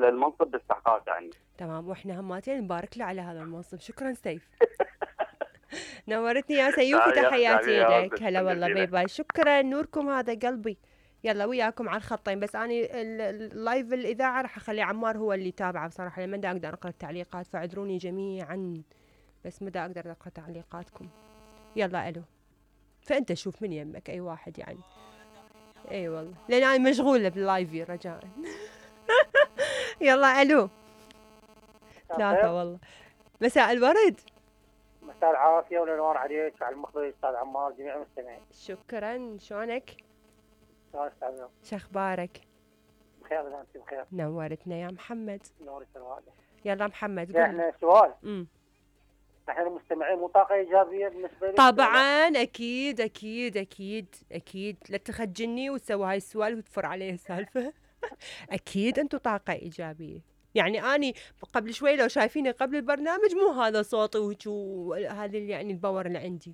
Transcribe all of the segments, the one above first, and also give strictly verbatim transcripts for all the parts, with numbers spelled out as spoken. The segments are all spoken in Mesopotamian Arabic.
المنصب باستحقاق يعني. تمام، واحنا هماتين نبارك له على هذا المنصب. شكرا سيف. نورتني يا سيوفي، تحياتي لك. هلا والله، باي باي. شكرا، نوركم هذا قلبي. يلا وياكم على الخطين، بس اني اللايف الاذاعه راح اخلي عمار هو اللي يتابعه بصراحه، لما دا اقدر اقرا التعليقات، فاعذروني جميعا، بس ما دا اقدر اقرا تعليقاتكم. يلا الو، فانت شوف من يمك اي واحد يعني. اي والله، لان انا مشغوله باللايف رجاء. يلا الو. ثلاثة والله. مساء الورد. مساء العافية والانوار عليك، على المخرج استاذ عمار، جميع المستمعين. شكرا، شلونك؟ شلون استاذ؟ شو اخبارك؟ بخير اذا انت بخير. نورتنا يا محمد. نورك الوالد. يلا محمد قول. احنا سؤال. امم احنا المستمعين مو طاقة ايجابية بالنسبة لي؟ طبعا اكيد اكيد اكيد اكيد، لا تخجلني وتسوي هاي السؤال وتفر عليه السالفة. اكيد انتم طاقة ايجابية. يعني اني قبل شوي لو شايفيني قبل البرنامج مو هذا صوتي وهذا يعني الباور اللي عندي،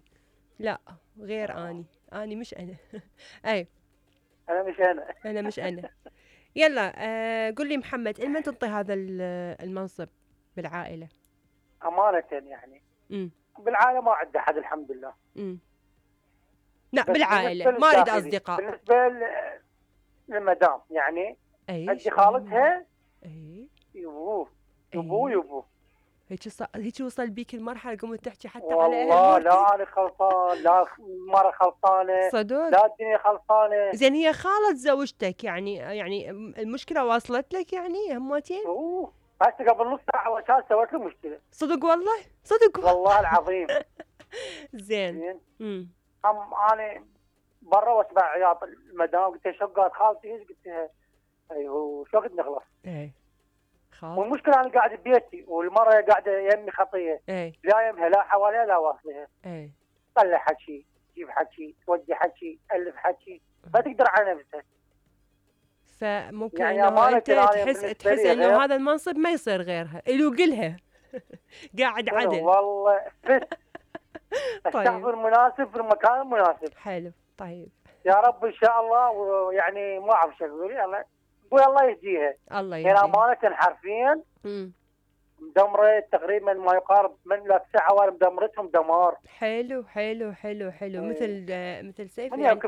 لا غير. آه. اني اني مش انا. اي انا مش انا. انا مش انا. يلا آه قل لي محمد، لمن تنطي هذا المنصب بالعائلة؟ امانة يعني. امم بالعائلة ما عندي احد الحمد لله. امم لا بالعائلة، ما اريد اصدقاء. بالنسبة للمدام يعني اي عندي خالتها. اي يبوه يبوه يبوه هيك ص... هيك وصل بيك المرحله قمت تحكي حتى والله على اهل والله لا انا خلطان، لا المره خلطانه صدق، لا الدنيا خلطانه. زين هي خالة زوجتك يعني، يعني المشكله واصلت لك يعني همتين؟ اوه هسه قبل نص ساعه وشال سويت له مشكله. صدق والله؟ صدق والله, والله العظيم. زين زين امم هم انا برا واسمع عياط المدام، قلت لها شو قالت خالتي ايش؟ قلت لها ايوه شو وقت نخلص؟ اي خالص. والمشكله انا قاعد ببيتي والمره قاعده يمي خطيه. اي لا يمها لا حواليها لا واصلها. اي طلع حكي، جيب حكي، تودي حكي، الف حكي، ما تقدر على نفسها. فممكن يعني انه انت تحس تحس انه هذا المنصب ما يصير غيرها، الو قلها. قاعد عدل. والله فت. الشخص المناسب في المكان المناسب. حلو طيب. يا رب ان شاء الله. ويعني ما اعرف شو اقول، يلا قول الله يهديها. الله يهديها. يعني امانه حرفيا امم مدمره تقريبا ما يقارب من لا تسع عوالم، مدمرتهم دمار. حلو حلو حلو حلو مم. مثل مثل سيف يعني.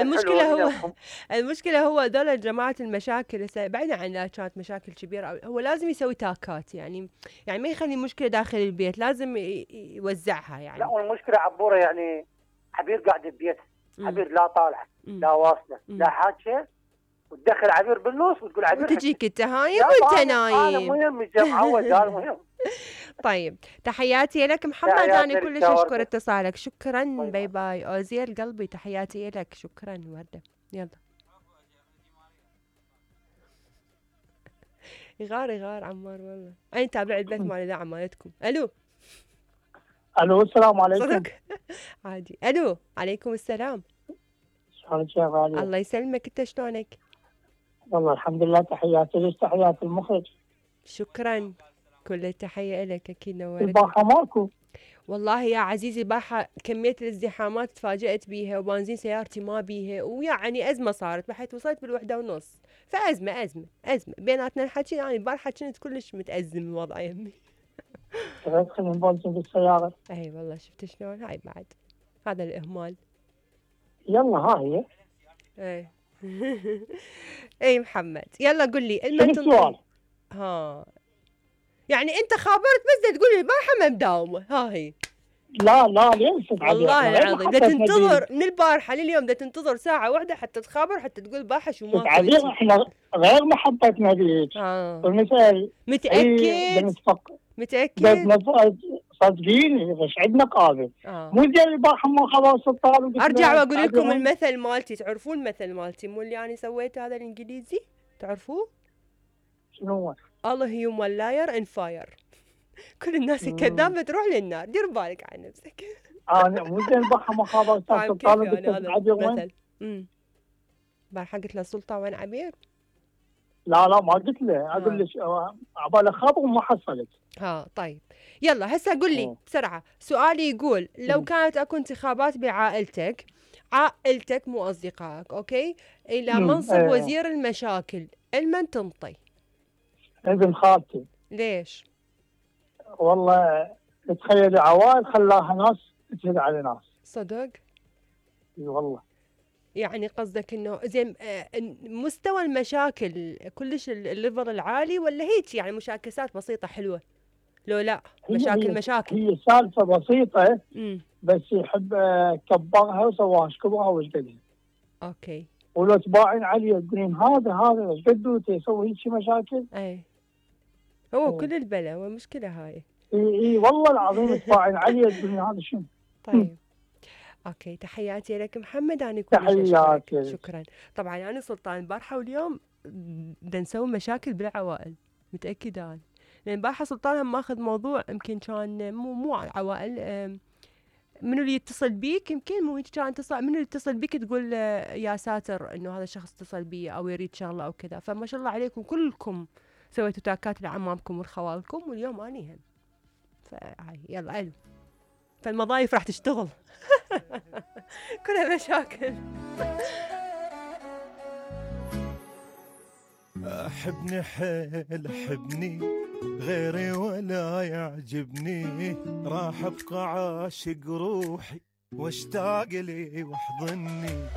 المشكله هو المشكله هو هذول جماعه المشاكل بعيدا عن لا كانت مشاكل كبيره، هو لازم يسوي تاكات يعني، يعني ما يخلي مشكله داخل البيت، لازم يوزعها يعني. لا والمشكله عبوره يعني عبير قاعد ببيت، عبير لا طالعه لا واصله لا حاجه، وتدخل عبير بالنص وتقول عبير وتجيك انت هايم وانت نايم. انا مهم معود هذا مهم. طيب تحياتي لك محمد، انا كلش اشكر اتصالك. شكرا. باي باي اوزير قلبي، تحياتي لك. شكرا ورده. يلا يغار يغار عمار والله. انا تابع البث مال الاذاعه مالتكم. الو الو السلام عليكم. صدق عادي. الو عليكم السلام. شلونك يا غالي؟ الله يسلمك، انت شلونك؟ والله الحمد لله. تحياتي لك، تحياتي المخرج. شكرا، كل التحيه لك. اكيد نورت. الباحه ماكو والله يا عزيزي، باحة كمية الازدحامات تفاجأت بيها، وبنزين سيارتي ما بيها، ويعني أزمة صارت بحيث وصلت بالوحدة ونص، فأزمة أزمة أزمة بيناتنا الحكي. يعني البارحة كنت كلش متأزم الوضع يمي. ادخل من بنزين بالسيارة. أي والله شفت شلون هاي بعد هذا الإهمال. يلا ها هي. أي أي محمد يلا قل لي شنو السؤال؟ ها يعني أنت خابرت بس تقول لي البارحة ما مداومة. ها هي لا لا ليش والله العظيم بدها تنتظر من البارحه لليوم، بدها تنتظر ساعه واحده حتى تخابر حتى تقول بارحه شو ما عزيز. احنا غير محبتنا بيك. اه والمثال متاكد متاكد صدقيني بس عندنا قابل. آه. مو زي البارحه ما خلاص الطالب. ارجع واقول لكم المثل مالتي، تعرفون المثل مالتي مو اللي انا سويته هذا الانجليزي؟ تعرفوه؟ شنو هو؟ الله هيوم لاير ان فاير. كل الناس الكذابه تروح للنار، دير بالك على نفسك. انا مو زين البارحه ما خابر الطالب هذا المثل. امم البارحه قلت له سلطه وين عبير؟ لا لا ما قلت له، اقول لك عبالي خبر وما حصلت. ها طيب يلا هسه قل لي بسرعه. سؤالي يقول لو كانت اكو انتخابات بعائلتك، عائلتك مو اصدقائك، اوكي، الى منصب ايه. وزير المشاكل، لمن تنطي؟ ابن خالتي. ليش؟ والله تخيل عوائل خلاها ناس تجهل على ناس. صدق؟ اي والله. يعني قصدك انه زين مستوى المشاكل كلش الليفل العالي ولا هيك يعني مشاكسات بسيطة حلوة؟ لو لا مشاكل هي مشاكل هي سالفة بسيطة امم بس يحب كبرها وسواها شكبرها وش قدها. اوكي. ولو تباعين عليه تقولين هذا هذا وش قده يسوي هيك مشاكل؟ اي هو أوه. كل البلا والمشكلة هاي. اي اي والله العظيم تباعين عليه تقولين هذا شنو؟ طيب. اوكي تحياتي لك محمد. انا كل تحياتي. شكرا. طبعا انا سلطان البارحه واليوم بدنا نسوي مشاكل بالعوائل متاكده انا لان البارحه سلطان هم ماخذ موضوع يمكن كان مو مو عوائل منو اللي يتصل بيك يمكن مو كان اتصل منو اللي يتصل بيك تقول يا ساتر انه هذا الشخص اتصل بي او يريد شغله او كذا. فما شاء الله عليكم كلكم سويتوا تاكات لعمامكم ولخوالكم واليوم اني هم فهاي يلا الو فالمضايف راح تشتغل كلها مشاكل. أحبني حيل أحبني غيري ولا يعجبني راح أبقى عاشق روحي واشتاق لي واحضني